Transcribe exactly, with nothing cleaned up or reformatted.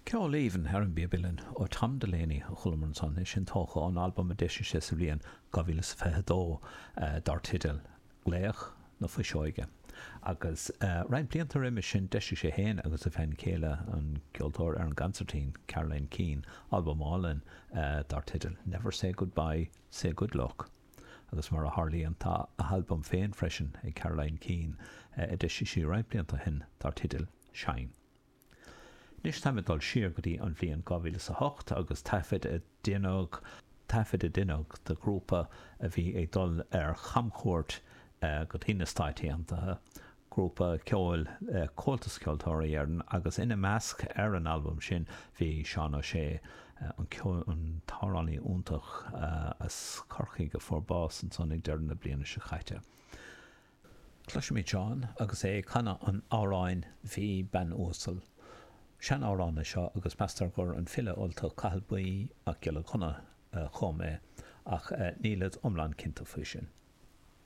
Ceol aoibhinn ar an bpíob uilleann ó Tom Delaney a chualamar ansan, é sin tógtha ón albam a d'eisigh sé sa bhliain dhá mhíle is a fiche dó dar teideal Glaoch na Fuiseoige. Agus roinnt blianta roimhe sin d'eisigh sé féin agus a bhean chéile, an ceoltóir ar an gconsairtín, Caroline Keane, albam álainn dar teideal Never Say Goodbye, Say Good Luck. Agus mar a tharlaíonn tá a halbam féin freisin ag Caroline Keane a d'eisigh sí roinnt blianta ó shin dar teideal Shine. Anois táim ag dul siar go dtí an bhliain dhá mhíle is a hocht agus taifead a deineadh, taifead a deineadh de ghrúpa a bhí ag dul ar chamchuairt go dtí na Stáit Aontaithe, grúpa ceoil Comhaltas Ceoltóirí Éireann agus ina measc ar an albam sin bhí Seán Ó Sé, an ceol, an t-amhránaí iontach as Corcaigh a fuair bás ansan ag deireadh na bliana seo caite. Cloisimid Seán agus é ag canadh an amhráin 'Bhí Bean Uasal'. Sean-amhrán é seo agus meastar gur an file Ultach Cathal Buí Mac Giolla Chonnaith a chum é, ach nílid iomlán cinnte faoi sin.